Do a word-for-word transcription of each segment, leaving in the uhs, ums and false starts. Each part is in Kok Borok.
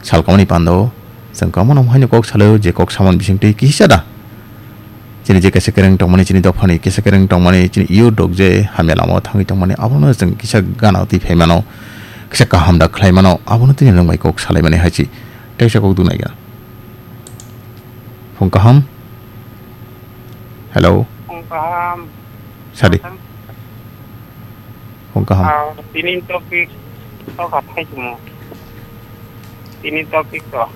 salkamani pando chwng kwbangma no haino kok salaio, je kok samani bisingtwi kisa da chini je kesa kereng tongmani, chini dophani kesa kereng tongmani, chini youth rok je hamya lamao thangwi tongmani, abono chwng kisa gana twi phaimano, kisa kaham da khlaimano, abono tini nwng bai kok salaimani hai chi teisa kok dunai gana. Phung kaham. Hello. Phung kaham. Sadi. Phung kaham. Ah, tini topic to kathai tumo. Tini topic to.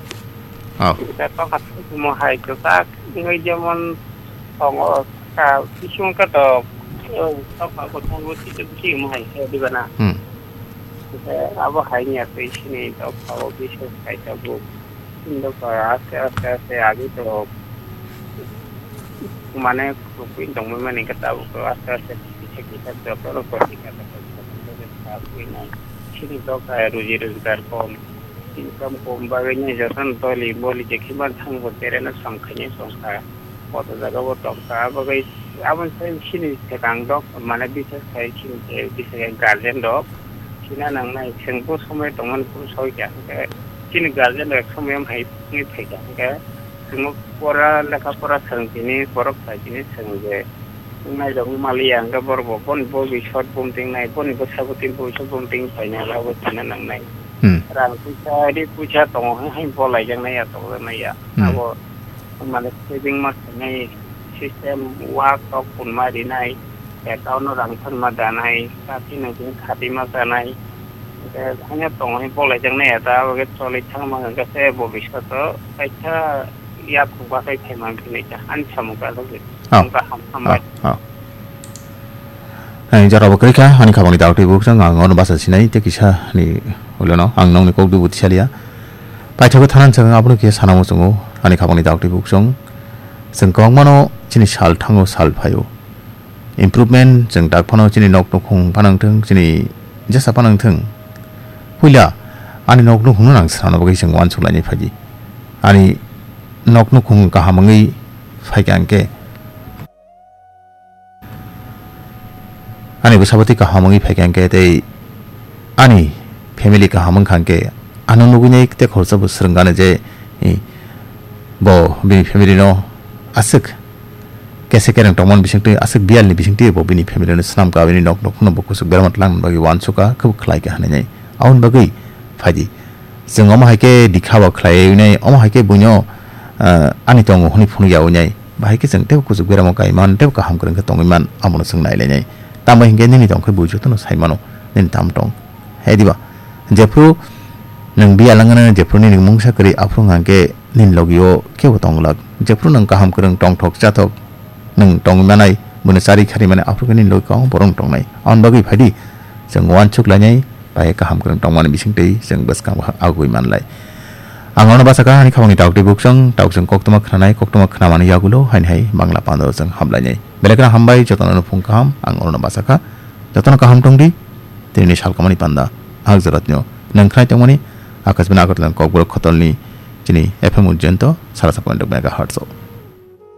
Oh. Kita to kathai tumo hai to tak ngai jemon tongo ka bisung ka to, eh, to ka ko tongo ti to ki mo hai ke di bana. Hmm. Abo hai ni atwi sini to ka o bisung kai to bu. Indo ka aste aste aste agi to mane kukuin tongmani mani ka tabuk to aste aste kisa kisa joto no koti kata koti kata koti kata koti na sini to ka ruji rojgar kom, income kom bagwi ni joto no doli boli je khiban thang bo tere no som khaini som kha. Koto jaga bo tong kha, abo gai abo sai sini thekang dok mane bises khai sini te bises guardian dok sina nang nai seng bo somoi tongmani pun soi kya hwnkhe chini guardian rok somoi hai wngwi phaikha hwnkhe chwngno pora lekha pora swrwng tini borok sai tini swrwng je wngnai rok wng maliya hwnkhe borok bo boni bo biswat bumting nai boni bwsa bwtwi bo biswat bumting painai abo china nang nai Hmm. rang puisa ri puisa tongo hai hai bo laijak nai ya tongjak nai ya Hmm. abo mane saving ma khainai system wak tok punma rinai account no rang thangma danai kati nang tini khati ma chanai hanya tongo hai bo laijak nai ya ta abo khe choli thangma hwnkhe se bo biswat o kaisa yak khukba khai phaima hinwi ta ani samung ka logwi. Oh. Ang kaham hambai. Oh, oh. Hai, jora bo kwrwi kha, ani khabangni daktwi buksong, ang ono basa sinai, tei kisa ni ulono, ang nokni kok dubu tisaliya. Paithago thanan chwng abono kisa sana muchungo, ani khabangni daktwi buksong. Chwng kwbangmano chini sal thango, sal phaio. Improvement chwng tak phano chini nok nukhung phano wngthung, chini jesa phano wngthung. Puila ani nok nukhungno nang swnamna bagwi chwng uansuk lainai phaidi. Ani nok nukhung kaham wngwi phaikha hwnkhe, ani bwsa bwtwi kaham wngwi phaikha hwnkhe tei ani family kaham wngkha hwnkhe ano nugwi nai tei khoroksa bo swrwng gana je, eh, bo bini family no aswk kese kereng tongmani bisingtwi aswk biyalni bisingtwi bo bini family no swnam ka bini nok nukhungno bo kuchuk berma twlang bagwi uansuk kha khe bo khlai kha hinwi nai. Aboni bagwi phaidi. Chwng omo hai khe dikha bo khlaiwi nai, omo hai khe buino, ah, ani tongo hwnwi phunuk yaui nai. Bahai khe chwng teibo kuchuk beramo kai man, teibo kaham kwrwng khe tongwi man, abono chwng nai lai nai. Tamo hinkhe nini tong khe bui jotono sai mano, nini tamo tong. Hai diba? Jephru nwng biyal wngna, jephru nini mungsa kwrwi, aphuru wngkha khe nini logi o kebo tong glak. Jephru nwng kaham kwrwng tongthok chathok, nwng tongwi manai, buino chari khari mani aphuru khe nini logi kwbangma borok wng tongnai. Aboni bagwi phaidi, chwng uansuk lainai, bai kaham kwrwng tongmani bisingtwi chwng bwskang bo agwi manlai. Ang ano bachakha ani khabangni daktwi buksong, daksong koktwma khnanai, koktwma khnamani yagulo haini hai Bangla pando chwng hamlainai. Belai kheno hambai, jotono phung kaham, ang ano bachakha, jotono kaham tongdi, tini salkamani panda, ang joratno nang khnai tongmani, Akashbani Agartala Kokborok Khotolni chini F M Ujjayanto, sara sa point megahertz o.